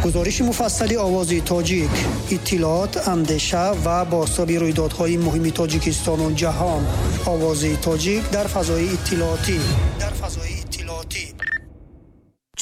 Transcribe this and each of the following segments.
Гузориши муфассали Овози Тоҷик, иттилоот, андеша ва бозтоби рӯйдодҳои муҳими Тоҷикистону ҷаҳон. Овози Тоҷик дар фазои иттилоотӣ. Дар фазои иттилоотӣ.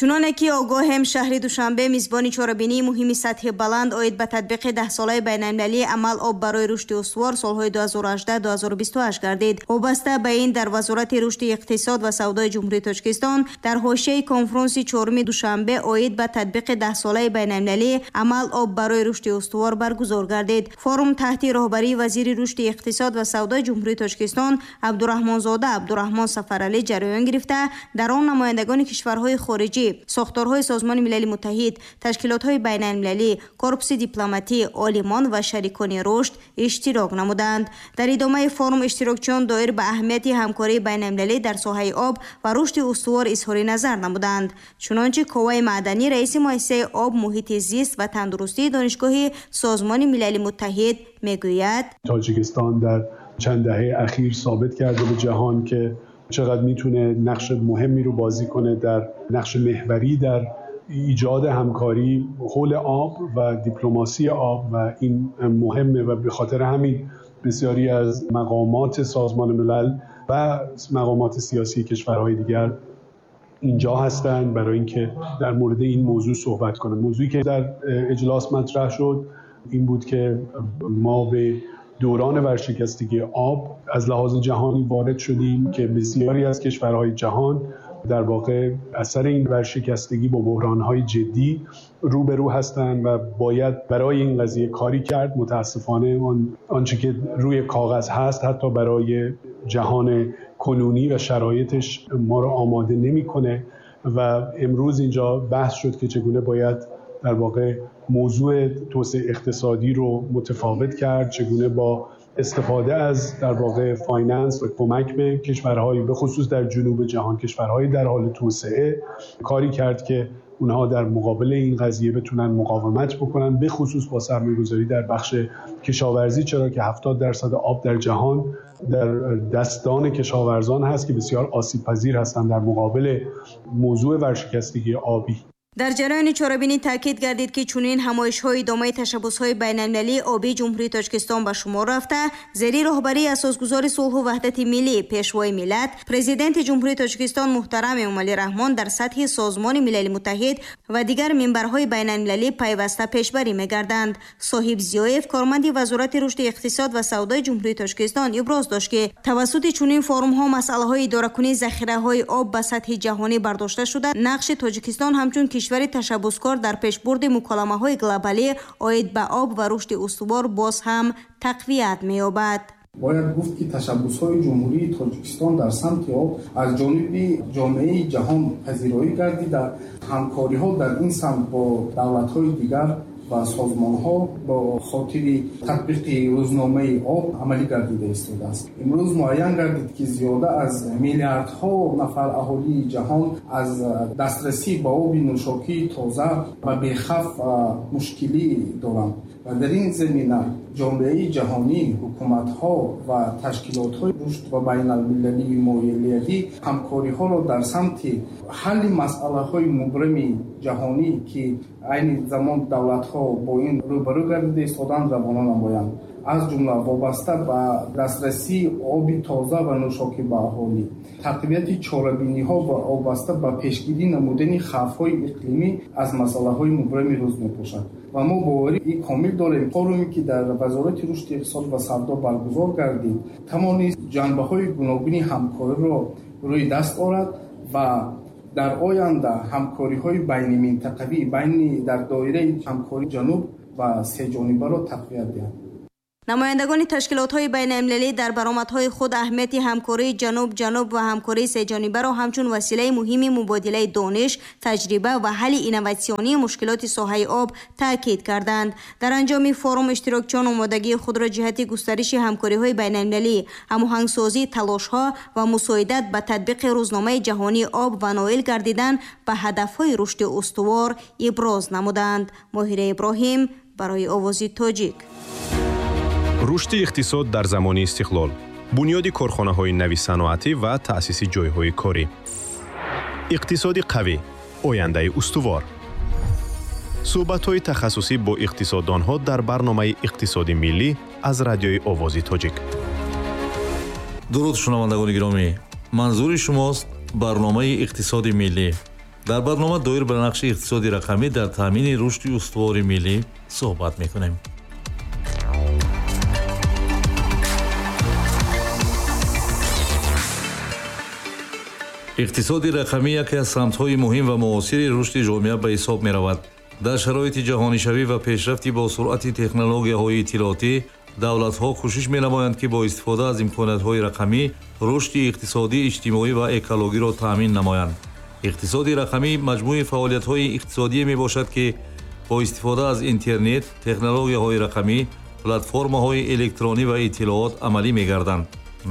Чуноне ки огоҳем, шаҳри Душанбе мизбони чорабинии муҳими сатҳи баланд оид ба татбиқи 10-солаи байналмилалии амал «Об барои рушди устувор» солҳои 2018-2028 гардид. Вобаста ба ин, дар Вазорати рушди иқтисод ва савдои Ҷумҳурии Тоҷикистон дар ҳошияи конфронси чоруми Душанбе оид ба татбиқи 10-солаи байналмилалии амал «Об барои рушди устувор» баргузор гардид. Форум таҳти роҳбарии вазири рушди иқтисод ва савдои Ҷумҳурии Тоҷикистон Абдураҳмонзода Абдураҳмон Сафаралӣ ҷараён гирифта, дар он намояндагони кишварҳои хориҷӣ, сохторҳои Созмони Милали Муттаҳид, ташкилотҳои байналмилалӣ, корпуси дипломатӣ, олимон ва шарикони рушд иштирок намуданд. Дар идомаи форум иштирокчиён доир ба аҳамияти ҳамкории байналмилалӣ дар соҳаи об ва рушди устувор изҳори назар намуданд. Чунончи Коваи Маъданӣ, раиси муассисаи об, муҳити зист ва тандурустии Донишгоҳи Созмони Милали Муттаҳид, мегӯяд: Тоҷикистон дар чанд даҳаи ахир собит карда ба ҷаҳон, ки чақадр میتونه نقش مهمی رو بازی کنه، در نقش محوری در ایجاد همکاری حول آب و دیپلماسی آب و این مهمه و به خاطر همین بسیاری از مقامات سازمان ملل و مقامات سیاسی کشورهای دیگر اینجا هستند برای اینکه در مورد این موضوع صحبت کنند. موضوعی که در اجلاس مطرح شد این بود که ما به دوران ورشکستگی آب از لحاظ جهانی وارد شدیم که بسیاری از کشورهای جهان در واقع اثر این ورشکستگی با بحران‌های جدی روبرو هستند و باید برای این قضیه کاری کرد. متاسفانه آنچه که روی کاغذ هست حتی برای جهان کنونی و شرایطش ما رو آماده نمی‌کنه و امروز اینجا بحث شد که چگونه باید در واقع موضوع توسعه اقتصادی رو متفاوت کرد، چگونه با استفاده از در واقع finance و کمک به کشورهای به خصوص در جنوب جهان، کشورهای در حال توسعه، کاری کرد که اونها در مقابل این قضیه بتونن مقاومت بکنن، به خصوص با سرمایه‌گذاری در بخش کشاورزی، چرا که 70% آب در جهان در دستان کشاورزان هست که بسیار آسیب پذیر هستند در مقابل موضوع ورشکستگی آبی. Дар ҷараёни чорабинӣ таъкид гардид, ки чунин ҳамоишҳои идомаи ташаббусҳои байналмилалии обии Ҷумҳурии Тоҷикистон ба шумор рафта, зери роҳбарии асосгузори сулҳу ваҳдати миллӣ, Пешвои миллат, Президенти Ҷумҳурии Тоҷикистон муҳтарам Эмомалӣ Раҳмон дар сатҳи Созмони Милали Муттаҳид ва дигар минбарҳои байналмилалӣ пайваста пешбарӣ мегарданд. Соҳиб Зиёев, корманди Вазорати рушди иқтисод ва савдои Ҷумҳурии Тоҷикистон, иброз дошт, ки тавассути чунин форумҳо масъалаҳои идоракунии захираҳои об ба сатҳи ҷаҳонӣ бардошта шуда, нақши Тоҷикистон ҳамчун кишвари ташаббускор дар пешбурди муколамаҳои глобалӣ оид ба об ва рушди устувор боз ҳам тақвият меёбад. Бояд гуфт, ки ташаббусҳои Ҷумҳурии Тоҷикистон дар самти об аз ҷониби ҷомеаи ҷаҳон пазироӣ гардида, ҳамкориҳо дар ин самт бо давлатҳои дигар ва созмонҳо бо хотири татбиқи рӯзномаи об амалӣ гардида истодааст. Имрӯз муайян гардид, ки зиёда аз миллиардҳо нафар аҳолии ҷаҳон аз дастрасӣ ба оби нӯшокии тоза ва бехавф мушкилӣ доранд ва дар ин замина ҷомеаи ҷаҳонӣ, ҳукуматҳо ва ташкилотҳои рушд ва байналмилалии молиявӣ ҳамкориҳоро дар самти ҳалли масъалаҳои мубрами ҷаҳонӣ, ки айни замон давлатҳо бо ин рӯбарӯ гардида истоданд, равона намоянд, аз ҷумла вобаста ба дастрасии оби тоза ва нӯшокӣ ба аҳолӣ, тақвияти чорабиниҳо ва вобаста ба пешгирӣ намудани хавфҳои иқлимӣ аз масъалаҳои мубрами рӯз мебошад. Ва мо боварии комил дорем, форуме, ки дар Вазорати рушди иқтисод ва савдо баргузор гардид, тавонист ҷанбаҳои гуногуни ҳамкориро рӯи даст орад ва дар оянда ҳамкориҳои байниминтақавӣ, байни дар доираи ҳамкории ҷануб ва сеҷонибаро тақвият диҳад. Намояндагони ташкилотҳои байналмилалӣ дар баромадҳои худ аҳамияти ҳамкории ҷануб-ҷануб ва ҳамкории сеҷонибаро ҳамчун василаи муҳими мубодилаи дониш, таҷриба ва ҳалли инноватсионии мушкилоти соҳаи об таъкид карданд. Дар анҷоми форум иштирокчиён омодагии худро ҷиҳати густариши ҳамкориҳои байналмилалӣ, ҳамоҳангсозии талошҳо ва мусоидат ба татбиқи рӯзномаи ҷаҳонии об ва ноил гардидан ба ҳадафҳои рушди устувор иброз намуданд. Моҳира Иброҳим барои Овози Тоҷик. Рушди иқтисод дар замони истиқлол, бунёди корхонаҳои нави саноатӣ ва таъсиси ҷойҳои корӣ, иқтисоди қавӣ, ояндаи устувор. Суҳбатҳои тахассусӣ бо иқтисоддонҳо дар барномаи «Иқтисоди миллӣ» аз радиои Овози Тоҷик. Дуруд, шунавандагони гиромӣ! Манзури шумост барномаи «Иқтисоди миллӣ». Дар барнома доир ба нақши иқтисоди рақамӣ дар таъмини рушди устувори миллӣ суҳбат мекунем. Иқтисоди рақамӣ яке аз самтҳои муҳим ва муосири рушди ҷомеа ба ҳисоб меравад. Дар шароити ҷаҳонишавӣ ва пешрафти бо суръати технологияҳои иттилоотӣ, давлатҳо кӯшиш менамоянд, ки бо истифода аз имкониятҳои рақамӣ рушди иқтисодӣ, иҷтимоӣ ва экологиро таъмин намоянд. Иқтисоди рақамӣ маҷмӯи фаъолиятҳои иқтисодие мебошад, ки бо истифода аз интернет, технологияҳои рақамӣ, платформаҳои электронӣ ва иттилоот амалӣ мегарданд.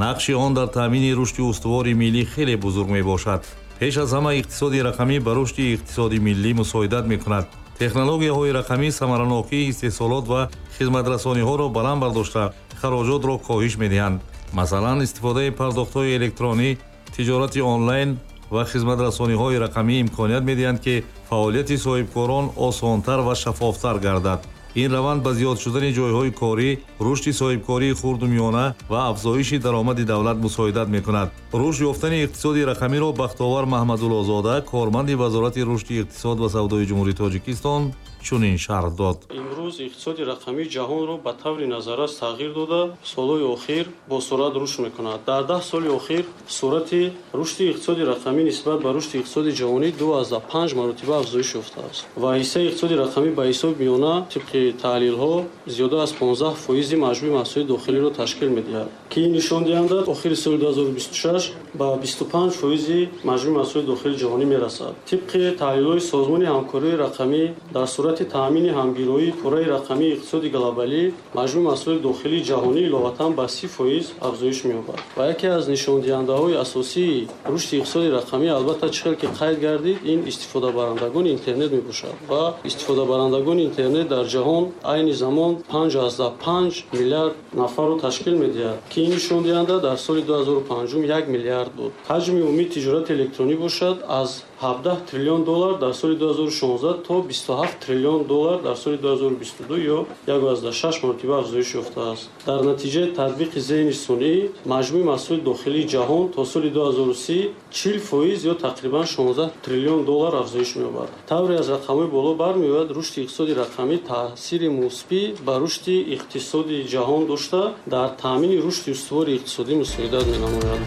Нақши он дар таъмини рушди устувори миллӣ хеле бузург мебошад. Пеш аз ҳама, иқтисоди рақамӣ ба рушди иқтисоди миллӣ мусоидат мекунад. Технологияҳои рақамӣ самаранокии истеҳсолот ва хизматрасониҳоро баланд бардошта, хароҷотро коҳиш медиҳанд. Масалан, истифодаи пардохтҳои электронӣ, тиҷорати онлайн ва хизматрасониҳои рақамӣ имконият медиҳанд, ки фаъолияти соҳибкорон осонтар ва шаффофтар гардад. Ин раванд ба зиёд шудани ҷойҳои корӣ, рушди соҳибкории хурду миёна ва афзоиши даромади давлат мусоидат мекунад. Рушд ёфтани иқтисоди рақамиро Бахтовар Маҳмадуллозода, корманди Вазорати рушди иқтисод ва савдои Ҷумҳурии Тоҷикистон, чунин шарҳ дод. Имрӯз иқтисоди рақамии ҷаҳонро ба таври назаррас тағйир дода, солҳои охир бо суръат рушд мекунад. Дар 10 соли охир суръати рушди иқтисоди рақамӣ нисбат ба рушди иқтисоди ҷаҳонӣ 2,5 маротиба афзоиш ёфтааст ва ҳиссаи иқтисоди рақамӣ ба ҳисоби миёна тибқи таҳлилҳо зиёда аз 15% маҷмӯи маҳсулоти дохилиро ташкил медиҳад, ки ин нишондиҳанда охири соли 2026 ба 25% маҷмӯи маҳсулоти дохилии ҷаҳонӣ мерасад. Тибқи таҳлилҳои Созмони ҳамкориҳои рақамӣ, дар сурати таъмини ҳамгироии пурраи рақамии иқтисоди глобалӣ, маҷмӯи маҳсулоти дохилии ҷаҳонӣ иловатан ба 30% афзоиш меёбад. Ва яке аз нишондиҳандаҳои асосии рушди иқтисоди рақамӣ, албатта, чӣ хел ки қайд гардид, ин истифодабарандагони интернет мебошад ва истифодабарандагони интернет дар ҷаҳон айни замон 5,5 миллиард нафарро ташкил медиҳад, ки ин нишондиҳанда дар соли 2005 1 миллиард буд. Ҳаҷми умумии тиҷорати электронӣ бошад аз 17 триллион доллар дар соли 2016 то 27 триллион доллар дар соли 2022 ё 1,6 маротиба афзоиш ёфтааст. Дар натиҷаи татбиқи зеҳни сунъӣ маҷмӯи маҳсулоти дохилии ҷаҳон то соли 2030 40% ё тақрибан 16 триллион доллар афзоиш меёбад. Тавре аз рақамҳои боло бармеояд, рушди иқтисоди рақамӣ таъсири мусбӣ ба рушди иқтисоди ҷаҳон дошта, дар таъмини рушди устувори иқтисодӣ мусоидат менамояд.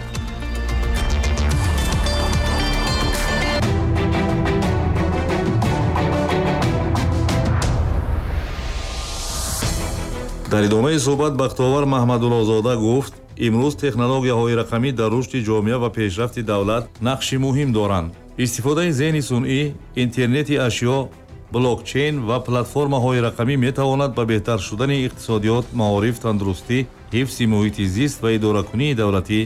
Дар идомаи суҳбат Бахтовар Маҳмадуллозода гуфт, имрӯз технологияҳои рақамӣ дар рушди ҷомеа ва пешрафти давлат нақши муҳим доранд. Истифодаи зеҳни сунъӣ, интернети ашё, блокчейн ва платформаҳои рақамӣ метавонад ба беҳтар шудани иқтисодиёт, маориф, тандурустӣ, ҳифзи муҳити зист ва идоракунии давлатӣ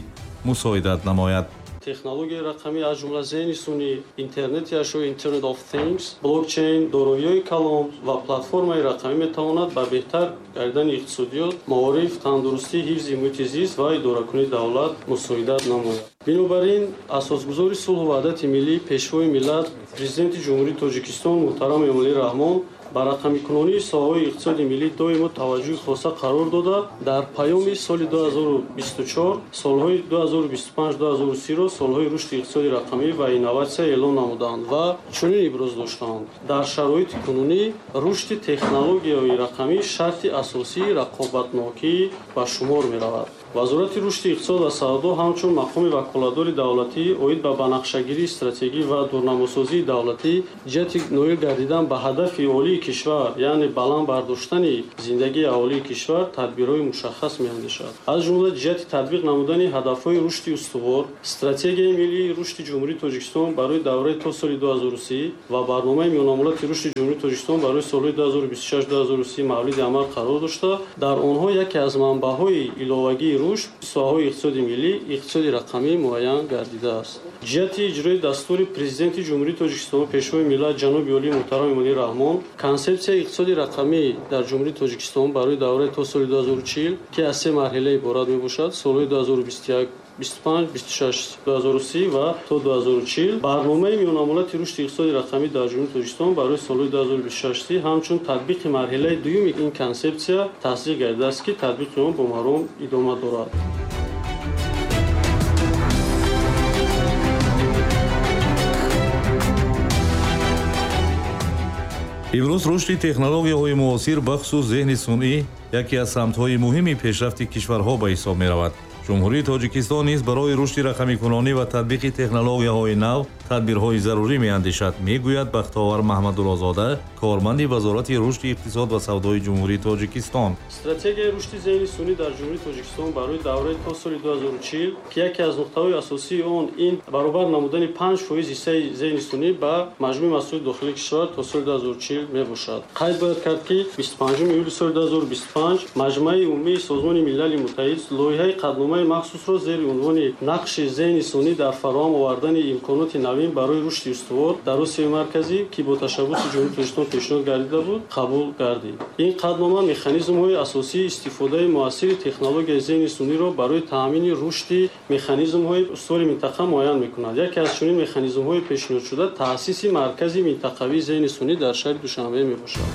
мусоидат намояд. Технологияи рақамӣ, аз ҷумла зеҳни сунъӣ, интернети ашё, Internet of Things, блокчейн, дороиҳои калон ва платформаи рақамӣ метавонад ба беҳтар гардидани иқтисодиёт, маориф, тандурустӣ, ҳифзи муҳити зист ва идоракунии давлат мусоидат намояд. Бинобар ин, асосгузори сулҳу ваҳдати миллӣ, Пешвои миллат, Президенти Ҷумҳурии Тоҷикистон муҳтарам Эмомалӣ Раҳмон ба рақамикунонии соҳаҳои иқтисоди миллӣ доимо таваҷҷӯҳи хоса қарор дода, дар паёми соли 2024 солҳои 2025-2030-ро солҳои рушди иқтисоди рақамӣ ва инноватсия эълон намуданд ва чунин иброз доштанд: дар шароити кунунӣ рушди технологияҳои рақамӣ шарти асосии рақобатнокӣ ба шумор меравад. Вазорати рушди иқтисод ва савдо ҳамчун мақоми ваколатдори давлатӣ оид ба банақшагирии стратегӣ ва дурнамосозии давлатӣ ҷиҳати ноил гардидан ба ҳадафи олии кишвар, яъне баланд бардоштани зиндагии аҳолии кишвар, тадбирҳои мушаххас меандешад. Аз ҷумла ҷиҳати татбиқ намудани ҳадафҳои рушди устувор, стратегияи миллии рушди Ҷумҳурии Тоҷикистон барои давраи то соли 2030 ва барномаи миёнамуҳлати рушди Ҷумҳурии Тоҷикистон барои солҳои 2026-2030 мавриди амал қарор дошта, дар онҳо яке аз манбаъҳои иловагии рушд соҳаҳои иқтисоди миллӣ, иқтисоди рақамӣ муайян гардидааст. Ҷиҳати иҷрои дастури Президенти Ҷумҳурии Тоҷикистон, Пешвои миллат ҷаноби олии муҳтарам Эмомалӣ Раҳмон, консепсияи иқтисоди рақамӣ дар Ҷумҳурии Тоҷикистон барои давраи то соли 2040, ки аз се марҳила иборат мебошад, солҳои 2021 25, 26, 2030 ва то 2040, барномаи миёнамуҳлати рушди иқтисоди рақамӣ дар Ҷумҳурии Тоҷикистон барои солҳои 2026 ҳамчун татбиқи марҳилаи дуюми ин консепсия тасдиқ гардидааст, ки татбиқи он бо маром идома дорад. Имрӯз рушди технологияҳои муосир, бахусус зеҳни сунъӣ, яке аз самтҳои муҳими пешрафти кишварҳо ба ҳисоб меравад. Ҷумҳурии Тоҷикистон низ барои рушди рақамикунонӣ ва татбиқи технологияҳои нав тадбирҳои зарурӣ меандешад, мегӯяд Бахтовар Маҳмадуллозода, корманди Вазорати рушди иқтисод ва савдои Ҷумҳурии Тоҷикистон. Стратегияи рушди зеҳни сунъӣ дар Ҷумҳурии Тоҷикистон барои давраи то соли 2040, ки яке аз нуқтаҳои асосии он ин баробар намудани 5% ҳиссаи зеҳни сунъӣ ба маҷмӯи маҳсулоти дохилии кишвар то соли 2040 мебошад. Қайд бояд кард, ки 25 июли соли 2025 Маҷмаи умумии Созмони Милали Муттаҳид лоиҳаи қатъномаи махсусро зери унвони нақши зеҳни сунъӣ дар фароҳам овардани имконоти навин барои рушди устувор дар Осиёи Марказӣ, ки бо ташаббуси Ҷумҳурии Тоҷикистон пешниҳод гардида буд, қабул гардид. Ин қатънома механизмҳои асосии истифодаи муассири технологияи зеҳни сунъиро барои таъмини рушди механизмҳои устувори минтақа муайян мекунад. Яке аз чунин механизмҳои пешниҳодшуда таъсиси маркази минтақавии зеҳни сунъӣ дар шаҳри Душанбе мебошад.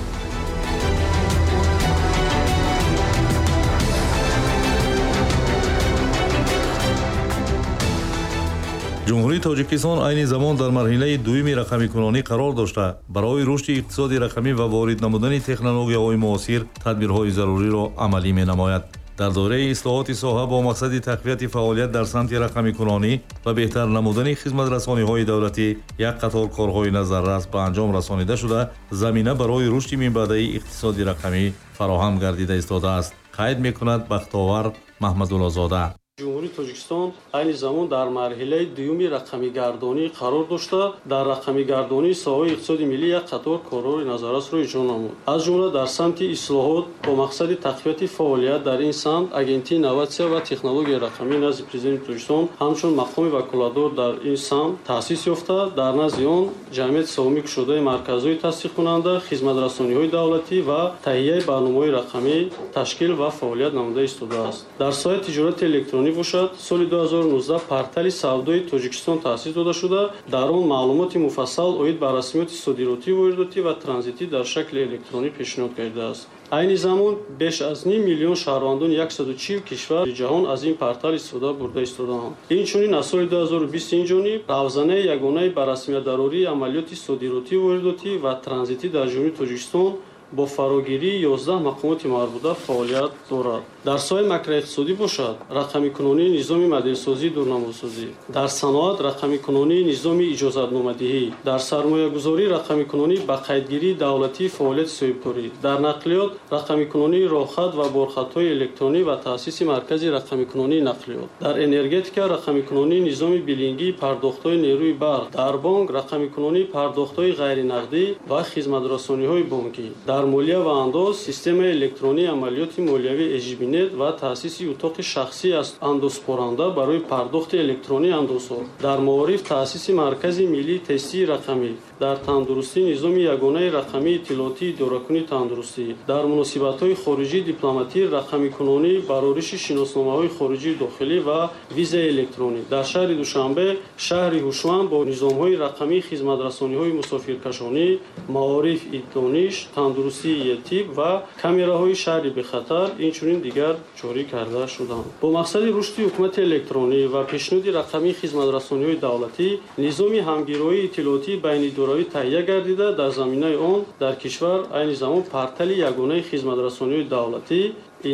Ҷумҳурии Тоҷикистон айни замон дар марҳилаи дуюми рақамикунонӣ қарор дошта, барои рушди иқтисоди рақамӣ ва ворид намудани технологияҳои муосир тадбирҳои заруриро амалӣ менамояд. Дар доираи ислоҳоти соҳа бо мақсади тақвияти фаъолият дар самти рақамикунонӣ ва беҳтар намудани хизматрасониҳои давлатӣ як қатор корҳои назаррас ба анҷом расонида шуда, замина барои рушди минбаъдаи иқтисоди рақамӣ фароҳам гардида истодааст, қайд мекунад Бахтовар Маҳмадуллозода. Ҷумҳурии Тоҷикистон айни замон дар марҳилаи дуюми рақамигардонӣ қарор дошта, дар рақамигардонии соҳаи иқтисоди миллӣ як қатор корҳои назаррасро иҷро намуд. Аз ҷумла дар самти ислоҳот бо мақсади тақвияти фаъолият дар ин самт Агентии инноватсия ва технологияи рақамӣ назди Президенти Тоҷикистон ҳамчун мақоми ваколатдор дар ин самт таъсис ёфта, дар назди он ҷамъияти савомӣ кушодаи марказҳои тасдиқкунанда, хизматрасониҳои давлатӣ ва таҳияи барномаҳои рақамӣ ташкил ва фаъолият намуда истодааст. Дар соҳаи тиҷорати электронӣ бошад, соли 2019 портали савдои Тоҷикистон таъсис дода шуда, дар он маълумоти муфассал оид ба расмиёти содиротӣ, воридотӣ ва транзитӣ дар шакли электронӣ пешниҳод гардидааст. Айни замон беш аз 0.5 миллион шаҳрвандони 140 кишвари ҷаҳон аз ин портал истифода бурда истодаанд. Инчунин аз соли 2020 инҷониб равзанаи ягонаи ба расмиятдарории амалиёти содиротӣ, воридотӣ ва транзитӣ дар Ҷумҳурии Тоҷикистон бо фарогирии 11 мақомоти марбута фаъолият дорад. Дар соҳаи макроиқтисодӣ бошад, рақамикунонии низоми моделсозии дурнамосозӣ, дар саноат рақамикунонии низоми иҷозатномадиҳӣ, дар сармоягузорӣ рақамикунонӣ ба қайдгирии давлатии фаъолияти соҳибкорӣ, дар нақлиёт рақамикунонии роҳхат ва борхатҳои электронӣ ва таъсиси маркази рақамикунонии нақлиёт, дар энергетика рақамикунонии низоми билингии пардохтҳои нерӯи барқ, дар бонк рақамикунонии пардохтҳои ғайринақдӣ ва хизматрасониҳои бонкӣ, дар молия ва андоз системаи электронии амалиёти молиявии EGBNet ва таъсиси утоқи шахсӣ аз андозспоранда барои пардохти электронии андозҳо, дар маориф таъсиси маркази миллии тестии рақамӣ, дар тандурустӣ низоми ягонаи рақамии иттилоотии идоракунии тандурустӣ, дар муносибатҳои хориҷии дипломатӣ рақамикунонӣ барориши шиносномаҳои хориҷии дохилӣ ва визаи электронӣ, дар шаҳри Душанбе шаҳри ҳушманд бо низомҳои рақамии хизматрасониҳои мусофиркашонӣ, маориф, дониш, тандурустии етиб ва камераҳои шаҳри бехатар инчунин дигар ҷорӣ карда шуданд. Бо мақсади рушди ҳукумати электронӣ ва пешниҳоди рақамии хизматрасониҳои давлатӣ низоми ҳамгироии иттилоотии байнидоравӣ таҳия гардида, дар заминаи он дар кишвар айни замон портали ягонаи хизматрасониҳои давлатӣ,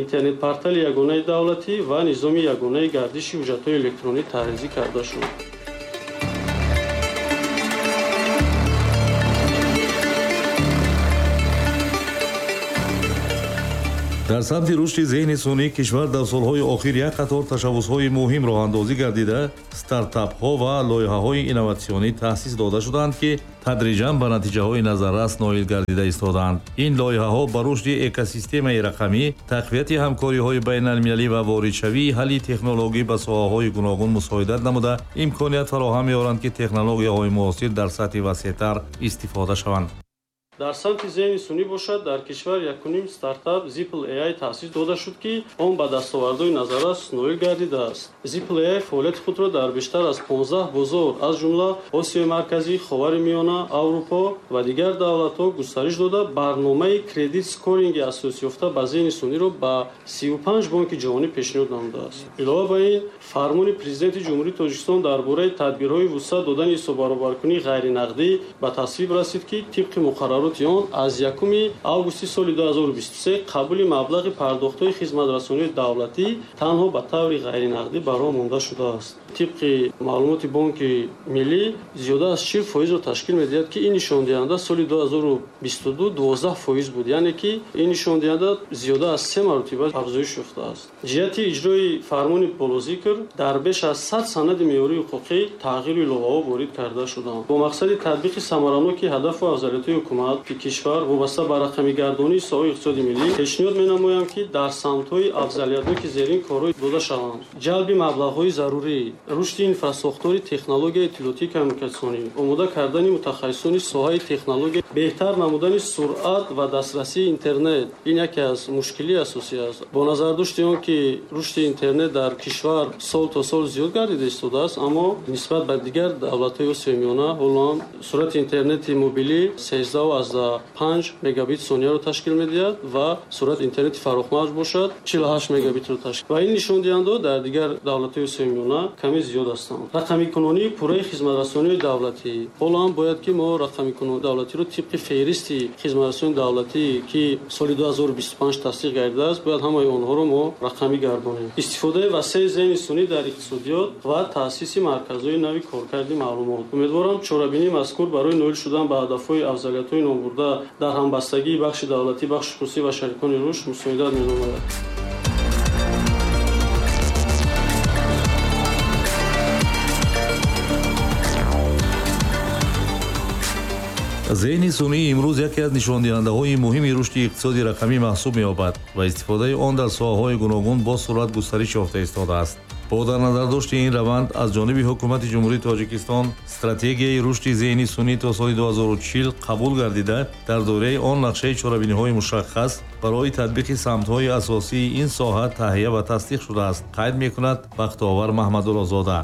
интернет-портали ягонаи давлатӣ ва низоми ягонаи гардиши ҳуҷҷатҳои электронӣ таҳризӣ карда шуд. Дар самти рушди зеҳни сунъӣ кишвар дар солҳои охир як қатор ташаббусҳои муҳим роҳандозӣ гардида, стартапҳо ва лоиҳаҳои инноватсионӣ таъсис дода шудаанд, ки тадриҷан ба натиҷаҳои назаррас ноил гардида истодаанд. Ин лоиҳаҳо ба рушди экосистемаи рақамӣ, тақвияти ҳамкориҳои байналмилалӣ ва воридшавии ҳалли технологӣ ба соҳаҳои гуногун мусоидат намуда, имконият фароҳам меоранд, ки технологияҳои муосир дар сатҳи васеътар истифода шаванд. Дар самти зеҳни сунъӣ бошад, дар кишвар якуним стартап Zipl AI таъсис дода шуд, ки он ба дастовардҳои назаррас ноил гардидааст. Zipl AI фаъолияти худро дар бештар аз 15 бозор, аз ҷумла Осиёи Марказӣ, Ховари Миёна, Аврупо ва дигар давлатҳо густариш дода, барномаи кредит скоринги асосёфта ба зеҳни сунъиро ба 35 бонки ҷаҳонӣ пешниҳод намудааст. Илова ба ин, фармони Президенти Ҷумҳурии Тоҷикистон дар бораи тадбирҳои вусъат додани ҳисоббаробаркунии ғайринақдӣ ба тасвиб расид, ки тибқи муқаррароти он аз 1 августи соли 2023 қабули маблағи пардохтҳои хизматрасонии давлатӣ танҳо ба таври ғайринақдӣ ба роҳ монда шудааст. Тибқи маълумоти Бонки Миллӣ, зиёда аз 40%-ро ташкил медиҳад, ки ин нишондиҳанда соли 2022 12% буд, яъне ки ин нишондиҳанда зиёда аз 3 маротиба афзоиш ёфтааст. Ҷиҳати иҷрои фармони болозикр дар беш аз 100 санади меъёрии ҳуқуқӣ тағйиру иловаҳо ворид карда шуданд. Бо мақсади татбиқи самараноки ҳадафу афзалиятҳои ҳукумати кишвар вобаста ба рақамигардонии соҳаи иқтисоди миллӣ, пешниҳод менамоям, ки дар самтҳои афзалиятноки зерин корҳо дода шаванд: ҷалби маблағҳои зарурӣ, рушди инфрасохтори технологияи иттилоотии коммуникатсионӣ, омода кардани мутахассисони соҳаи технология, беҳтар намудани суръат ва дастрасии интернет. Ин яке аз мушкилии асосӣ аст. Бо назардошти он ки рушди интернет дар кишвар сол то сол зиёд гардида истодааст, аммо нисбат ба дигар давлатҳои Осиёи Миёна ҳоло ҳам суръати интернети мобилӣ 13,5 мегабит сонияро ташкил медиҳад ва суръати интернети фарохмавҷ бошад 48 мегабитро ташкил. Ва ин нишондиҳандаҳо дар дигар давлатҳои Осиёи Миёна каме зиёд ҳастанд. Рақамикунонии пурраи хизматрасонии давлатӣ. Ҳоло ҳам бояд ки мо рақамикунонии давлатиро тибқи феҳристи хизматрасонии давлатӣ, ки соли 2025 тасдиқ гардидааст, бояд ҳамаи онҳоро мо рақамӣ гардонем. Истифодаи васеи зеҳни сунъӣ дар иқтисодиёт ва таъсиси марказҳои нави коркарди маълумот. Умедворам, чорабинии мазкур барои ноил шудан ба ҳадафҳои афзалиятҳои номбурда дар ҳамбастагии бахши давлатӣ, бахши хусусӣ ва шарикони рушд мусоидат менамояд. Зеҳни сунъӣ имрӯз яке аз нишондиҳандаҳои муҳими рушди иқтисоди рақамӣ маҳсуб меёбад ва истифодаи он дар соҳаҳои гуногун бо суръат густариш ёфта истодааст. Бо дар назардошти ин раванд аз ҷониби Ҳукумати Ҷумҳурии Тоҷикистон стратегияи рушди зеҳни сунъӣ то соли 2040 қабул гардида, дар доираи он нақшаи чорабиниҳои мушаххас барои татбиқи самтҳои асосии ин соҳа таҳия ва тасдиқ шудааст, қайд мекунад Бахтовар Маҳмадуллозода.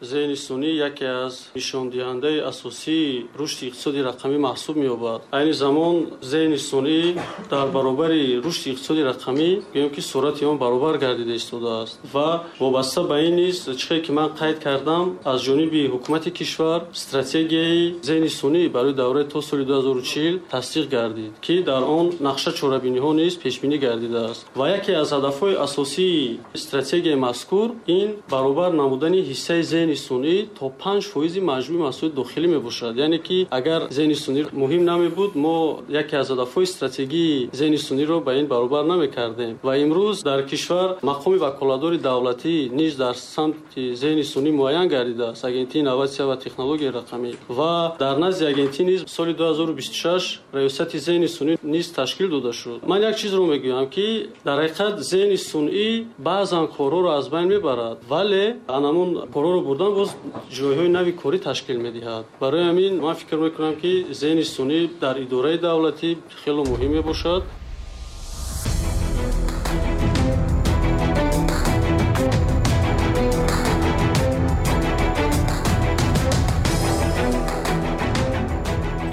Зеҳни сунъӣ яке аз нишондиҳандаи асосии рушди иқтисоди рақамӣ маҳсуб меёбад. Айни замон зеҳни сунъӣ дар баробари рушди иқтисоди рақамӣ гӯем ки суръати он баробар гардида истодааст ва вобаста ба ин низ, чизе ки ман қайд кардам, аз ҷониби ҳукумати кишвар стратегияи зеҳни сунъӣ барои давраи то соли 2040 тасдиқ гардид, ки дар он нақша чорабиниҳо низ пешбинӣ гардидааст. Ва яке аз ҳадафҳои асосии стратегияи мазкур ин баробар намудани ҳиссаи зеҳни сунъӣ то 5% маҷмӯи маҳсулоти дохилӣ мебошад. Яъне ки агар зеҳни сунъӣ муҳим намебуд, мо яке аз ҳадафҳои стратегии зеҳни сунъиро ба ин баробар намекардем. Ва имрӯз дар кишвар мақоми ваколатдори давлатӣ низ дар самти зеҳни сунъӣ муайян гардидааст, Агентии инноватсия ва технологияи рақамӣ. Ва дар назди агентӣ низ соли 2026 раёсати зеҳни сунъӣ низ ташкил дода шуд. Ман як чизро мегӯям, ки дар ҳақиқат зеҳни сунъӣ баъзан корҳоро аз байн мебарад, вале анамун корҳоро бурдан боз ҷойҳои нави корӣ ташкил медиҳад. Барои ҳамин ман фикр мекунам, ки зеҳни сунъӣ дар идораи давлатӣ хеле муҳим мебошад.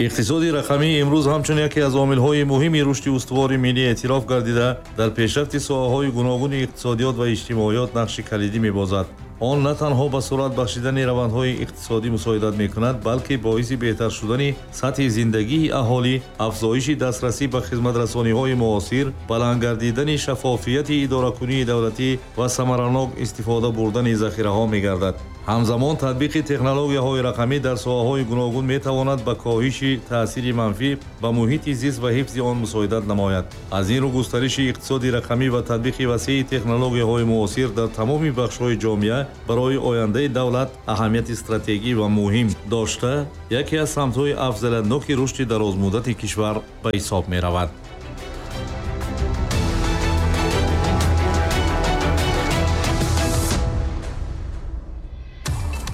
Иқтисоди рақамӣ имрӯз ҳамчун яке аз омилҳои муҳими рушди устувори миллӣ эътироф гардида, дар пешрафти соҳаҳои гуногуни иқтисодиёт ва иҷтимоиёт нақши калидӣ мебозад. Он на танҳо ба суръат бахшидани равандҳои иқтисодӣ мусоидат мекунад, балки боиси беҳтар шудани сатҳи зиндагии аҳолӣ, афзоиши дастрасӣ ба хизматрасониҳои муосир, баланд гардидани шаффофияти идоракунии давлатӣ ва самаранок истифода бурдани захираҳо мегардад. Ҳамзамон татбиқи технологияҳои рақамӣ дар соҳаҳои гуногун метавонад ба коҳиши таъсири манфӣ ба муҳити зист ва ҳифзи он мусоидат намояд. Аз ин рӯ густариши иқтисоди рақамӣ ва татбиқи васеи технологияҳои муосир дар тамоми бахшҳои ҷомеа барои ояндаи давлат аҳамияти стратегӣ ва муҳим дошта, яке аз самтҳои афзалиятноки рушди дарозмуддати кишвар ба ҳисоб меравад.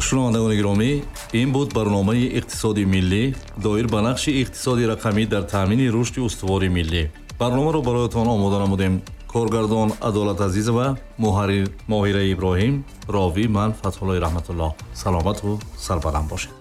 Шунавандагони гиромӣ, Ин буд барномаи иқтисоди миллӣ доир ба нақши иқтисоди рақамӣ дар таъмини рушди устувори миллӣ. Барномаро бароятон омода намудем коргардон Адолат Азизова, муҳаррир Моҳира Иброҳим, ровӣ ман, Фатҳуллои Раҳматуллоҳ. Саломату сарбаланд бошед.